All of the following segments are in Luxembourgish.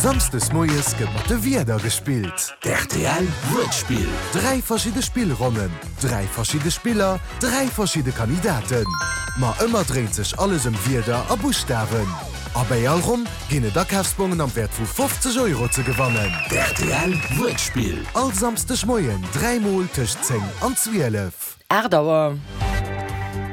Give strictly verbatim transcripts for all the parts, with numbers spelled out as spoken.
Samsdes moies gëtt mat de Wierder gespillt. R T L Wuertspill. Dräi verschidde Spillronnen, dräi verschidde Spiller, dräi verschidde Kandidaten. Ma ëmmer dréint sech alles ëm Wierder a Buschtawen. A bei all Ronn ginn et Akafsbongen am Wäert vu fofzeg Euro ze gewannen. R T L Wuertspill. All Samschdeg Moien dräimol tëscht zéng an zwielef. Aacht Auer.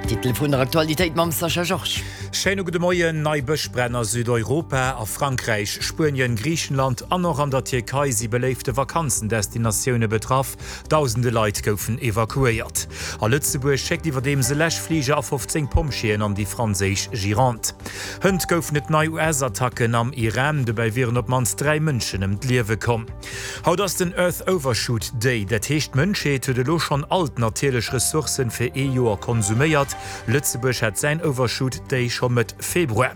Titel vun der Aktualitéit mam Sascha Georges. Schéine gudde Moien. Nei Bëschbränn a Südeuropa, a Frankräich, Spuenien, Griichenland an och an der Tierkei si beléifte Vakanzendestinatioune betraff. Dausende Leit goufen evakuéiert. A Lëtzebuerg schéckt iwwerdeems e Läschfliger a fofzéng Pompjeeën an déi franséisch Gironde. Hënt goufen et nei U S-Attacken am Iran, dobäi wieren op d'mannst dräi Mënschen ëm d'Liewe komm. Haut ass den Earth Overshoot Day, dat heescht, d'Mënschheet huet elo schonn all d'natierlech Ressourcë fir ee Joer konsuméiert. Lëtzebuerg hat säin Overshoot Day scho Mëtt Februar.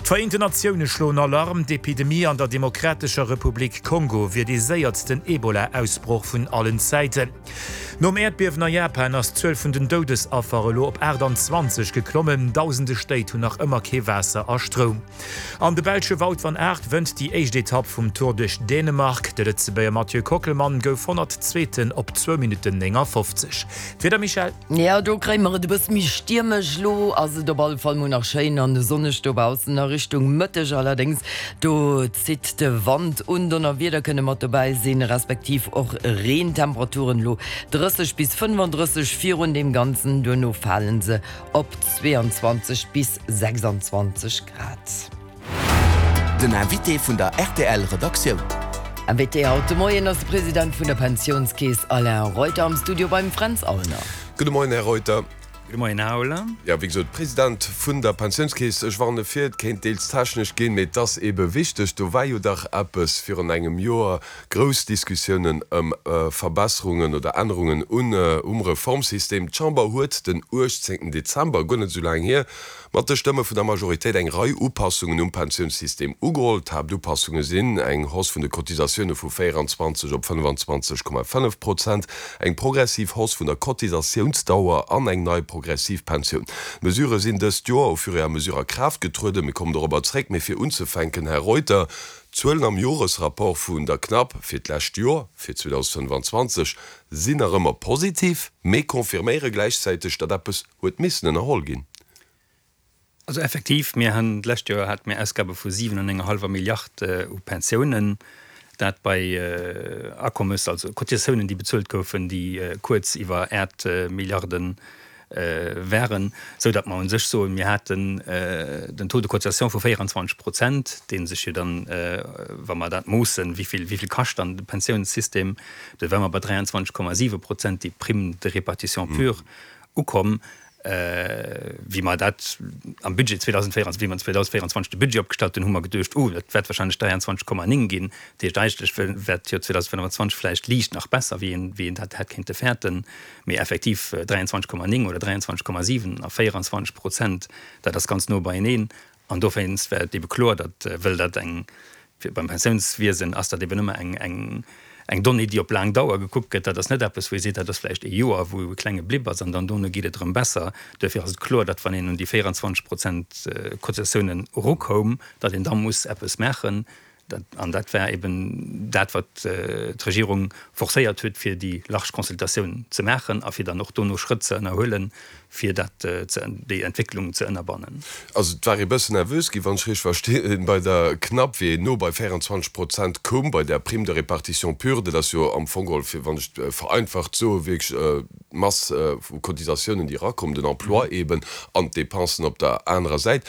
D'Vereenten Natioune schloen Alarm, d'Epidemie an der Demokratescher Republik Kongo wier dee séiersten Ebola-Ausbroch vun allen Zäiten. Nom Äerdbiewen a Japan ass d'Zuel vun den Doudesaffer elo op aachtanzwanzeg geklommen, dausende Stéit hunn nach ëmmer kee Waasser a Stroum. An de belsche Wout van Aert wënnt déi éischt Etapp vum Tour duerch Dänemark. De Lëtzebuerger Mathieu Kockelmann gouf honnertzweeten op zwou Minutten néngafofzeg. D'Wieder, Michèle? Ja, do kréie mer et e bësse méi stiermesch. Lo ass et op alle Fall mol nach schéin an sonneg dobaussen, a Richtung Mëtteg allerdéngs, do zitt de Wand un, Donnerwieder kënne mat dobäi sinn, respektiv och Reen. Temperaturen lo drësseg bis fënnefandrësseg virun deem Ganzen, duerno fale se op zweeanzwanzeg bis sechsanzwanzeg Grad. Den Invité vun der R T L Redaktioun. Invité haut de Moien ass de President vun der Pensiounskeess Alain Reuter am Studio beim Fränz Aulner. Gudde Moien, Här Reuter. Gudde Moien, Här Aulner. Ja, wéi gesot, President vun der Pensiounskeess, ech warne vir, et kéint deels technesch ginn, mee et ass ebe wichteg. Do war jo dach eppes virun engem Joer, grouss Diskussiounen ëm Verbesserungen oder Ännerungen un um Reformsystem. D'Chamber huet den uechtzéngten Dezember, guer net esou laang hier, mat de Stëmme vun der Majoritéit eng Rei Upassungen um Pensiounssystem ugeholl. D'Haaptupassunge sinn eng Hausse vun de Cotisatioune vu véieranzwanzeg op fënnefenzwanzeg Komma fënnef Prozent, eng progressiv Hausse vun der Cotisatiounsdauer an eng nei progressiv Pensioun. D'Mesurë sinn dëst Joer au fur et à mesure a Kraaft getrueden. Mir kommen dorobber zréck. Mee fir unzefänken, Här Reuter, d'Zuelen am Joresrapport vun der CNAP fir d'lescht Joer, fir zweedausendfënnefenzwanzeg, sinn nach ëmmer positiv, mee confirméiere gläichzäiteg, datt eppes huet missen ënnerholl ginn. Also effektiv, mir hunn d'lescht Joer hate mir Ausgabe vu siwen an enger hallwer Milliard u Pensiounen, dat bei Akommes, also Cotisatiounen, déi bezuelt goufen, déi kuerz iwwer aacht Milliarde waren, sou datt mer u sech soen, mir haten den Taux de cotisation vu véieranzwanzeg Prozent, dee sech jo dann, wa mer dat moossen, wéi vill wéi vill kascht dann de Pensiounssystem, do ware mer bei dräianzwanzeg Komma siwe Prozent, déi Prime de répartition pure ukomm. Wéi mer dat am Budget zweedausendvéierundzwanzeg, wéi mer zweedausendvéierundzwanzeg de Budget opgestallt hunn, hu mer geduecht, oh, dat wäert warscheinlech dräianzwanzeg Komma néng ginn. Dat heescht, eigentlech wäert d'Joer zweedausendfënnefenzwanzeg vläicht liicht nach besser, wéi een, wéi een dat hätt kéinte fäerten. Mee effektiv dräianzwanzeg Komma néng oder dräianzwanzeg Komma siwen a véieranzwanzeg Prozent, dat ass ganz no beieneen. An dowéinst war et ebe kloer, datt, wëll dat eng, beim Pensiounswiesen ass dat eben ëmmer eng, eng, eng Donnée, déi op laang Dauer gekuckt gëtt, dat ass net eppes, wou ee seet, dat ass vläicht ee Joer, wou e klenge Blip ass an dann dono geet et erëm besser. Duerfir ass et kloer, datt wann een un déi véierundzwanzeg Prozent Cotisatiounen erukoum, datt een da muss eppes maachen. Dat, an dat war eben dat, wat d'Regierung forcéiert huet, fir déi large Consultatioun ze maachen a fir dann och dono Schrëtt ze ënnerhuelen, fir dat ze, déi Entwécklung ze ënnerbannen. Also et war ee bëssen nervös ginn, wann ech richteg verstinn, bei der CNAP, wéi een no bei véierundzwanzeg Prozent koum bei der Prime de répartition pure. Dat ass jo am Fong geholl, fir wann ech et vereinfacht soe, wierklech d'Mass vu Cotisatiounen, déi erakommen, den Emploi eben, an d'Depensen op der anerer Säit.